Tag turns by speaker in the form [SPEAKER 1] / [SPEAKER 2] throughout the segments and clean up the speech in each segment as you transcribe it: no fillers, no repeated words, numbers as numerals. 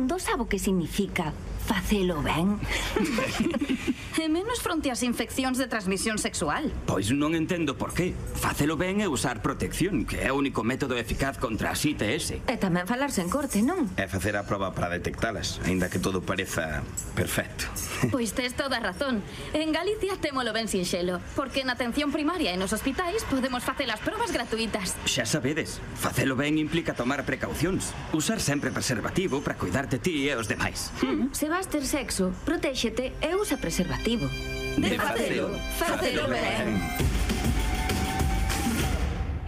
[SPEAKER 1] mundo sabe o que significa facelo ben.
[SPEAKER 2] E menos fronte ás infeccións de transmisión sexual.
[SPEAKER 3] Pois non entendo por qué. Facelo ben é usar protección, que é o único método eficaz contra as ITS.
[SPEAKER 1] E tamén falarse en corte, non?
[SPEAKER 4] É facer a proba para detectalas, aínda que todo pareza perfecto.
[SPEAKER 2] Pois tes toda a razón. En Galicia témolo ben sinxelo, porque na atención primaria e nos hospitais podemos facer as probas gratuitas.
[SPEAKER 3] Xa sabedes, facelo ben implica tomar precaucións. Usar sempre preservativo para cuidarte ti e os demais.
[SPEAKER 1] Se vas ter sexo, protéxete e usa preservativo.
[SPEAKER 2] De facelo, facelo ben.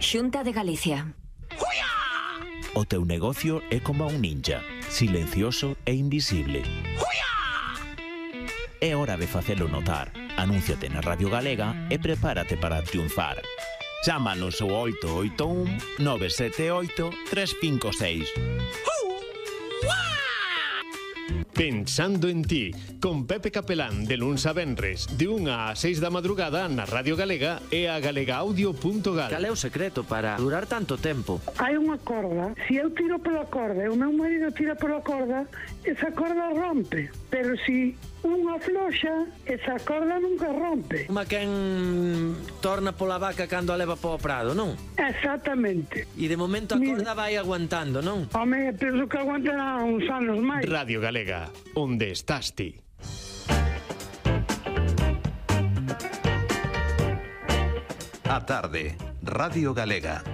[SPEAKER 1] Xunta de Galicia.
[SPEAKER 5] O teu negocio é como un ninja, silencioso e invisible. É hora de facelo notar. Anúnciate na Radio Galega e prepárate para triunfar. Chámanos ao 881 978 356.
[SPEAKER 6] Pensando en ti, con Pepe Capelán de luns a venres, de 1 a 6 da madrugada na Radio Galega e a galegaaudio.gal.
[SPEAKER 7] Cal é o secreto para durar tanto tempo?
[SPEAKER 8] Hai unha corda. Se eu tiro pela corda e o meu marido tira pela corda, esa corda rompe. Pero se unha floxa, esa corda nunca rompe.
[SPEAKER 7] Uma quen torna pola vaca cando a leva para o prado, non?
[SPEAKER 8] Exactamente.
[SPEAKER 7] E de momento a corda vai aguantando, non?
[SPEAKER 8] Home, penso que aguantará uns anos máis.
[SPEAKER 6] Radio Galega, onde estás ti?
[SPEAKER 9] A tarde, Radio Galega.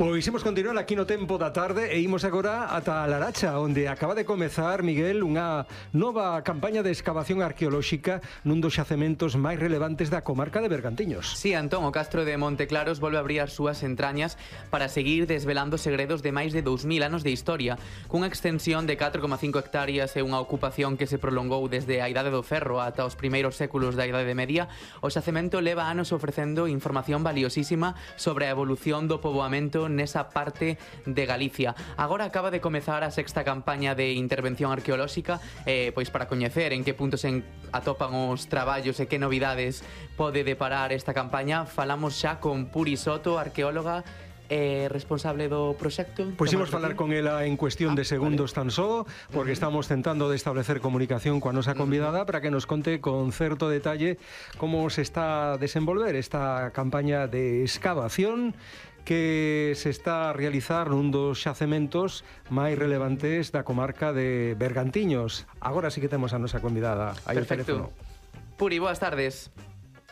[SPEAKER 10] Pois imos continuar aquí no tempo da tarde e imos agora ata a Laracha, onde acaba de comezar, Miguel, unha nova campaña de excavación arqueolóxica nun dos xacementos máis relevantes da comarca de Bergantiños.
[SPEAKER 11] Sí, Antón, o castro de Monteclaros volve a abrir as súas entrañas para seguir desvelando segredos de máis de 2000 anos de historia, cunha extensión de 4,5 hectáreas e unha ocupación que se prolongou desde a Idade do Ferro ata os primeiros séculos da Idade Media. O xacemento leva anos ofrecendo información valiosísima sobre a evolución do poboamento nesa parte de Galicia. Agora acaba de comezar a sexta campaña de intervención arqueolóxica, pois para coñecer en que puntos se atopan os traballos e que novidades pode deparar esta campaña, falamos xa con Puri Soto, arqueóloga responsable do proxecto.
[SPEAKER 10] Pois imos falar con ela en cuestión de segundos tan só, porque estamos tentando de establecer comunicación coa nosa convidada para que nos conte con certo detalle como se está a desenvolver esta campaña de excavación que se está a realizar nun dos xacementos máis relevantes da comarca de Bergantiños. Agora sí que temos a nosa convidada aí ao teléfono.
[SPEAKER 11] Puri, boas tardes.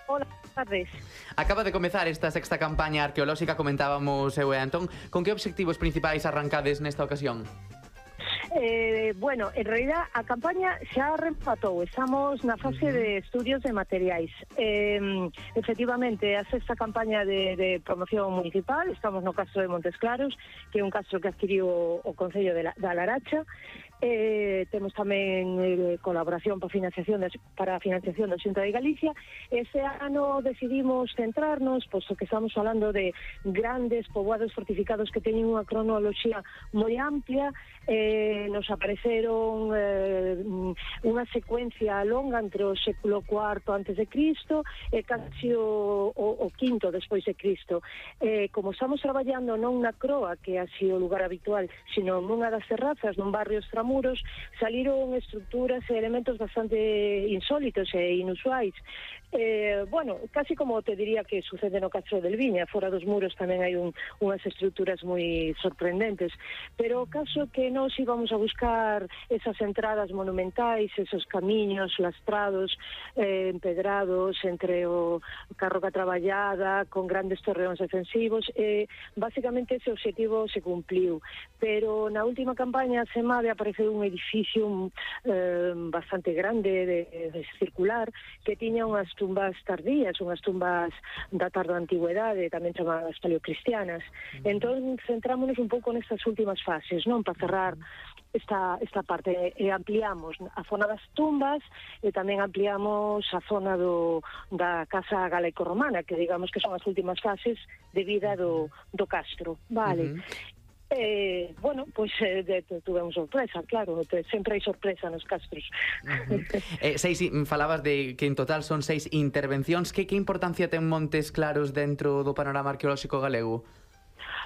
[SPEAKER 12] Hola, boas tardes.
[SPEAKER 11] Acaba de comezar esta sexta campaña arqueolóxica, comentábamos eu e Antón. Con que obxectivos principais arrancades nesta ocasión?
[SPEAKER 12] Bueno, en realidad a campaña xa rematou, estamos na fase de estudios de materiais. Efectivamente, a sexta campaña de promoción municipal, estamos no castro de Montes Claros, que é un castro que adquiriu o Concello da Laracha. Temos tamén colaboración para a financiación da Xunta de Galicia. Este ano decidimos centrarnos, posto que estamos falando de grandes poboados fortificados que teñen unha cronoloxía moi amplia. Nos apareceron unha secuencia longa entre o século IV antes de Cristo e casi o quinto despois de Cristo. Como estamos traballando non na croa, que é así o lugar habitual, sino nunha das terrazas, nun barrio extramuros, saliron estructuras e elementos bastante insólitos e inusuais. Bueno, casi como te diría que sucede no Castro del Viña, fora dos muros tamén hai unhas estructuras moi sorprendentes, pero o caso que nós íbamos a buscar esas entradas monumentais, esos camiños lastrados, empedrados entre o carroca traballada, con grandes torreóns defensivos, basicamente ese objetivo se cumpliu, pero na última campaña a SEMADE apareceu un edificio bastante grande, de circular, que tiña unhas tumbas tardías, unhas tumbas da tarda antigüedade, tamén chamadas paleocristianas. Entón, centrámonos un pouco nestas últimas fases, non? Para cerrar esta parte, e ampliamos a zona das tumbas e tamén ampliamos a zona da casa galaico-romana, que digamos que son as últimas fases de vida do castro, vale? Bueno, pois tuvemos sorpresa, claro, sempre hai sorpresa nos castros.
[SPEAKER 11] Falabas de que en total son 6 intervencións. Que importancia ten Montes Claros dentro do panorama arqueolóxico galego?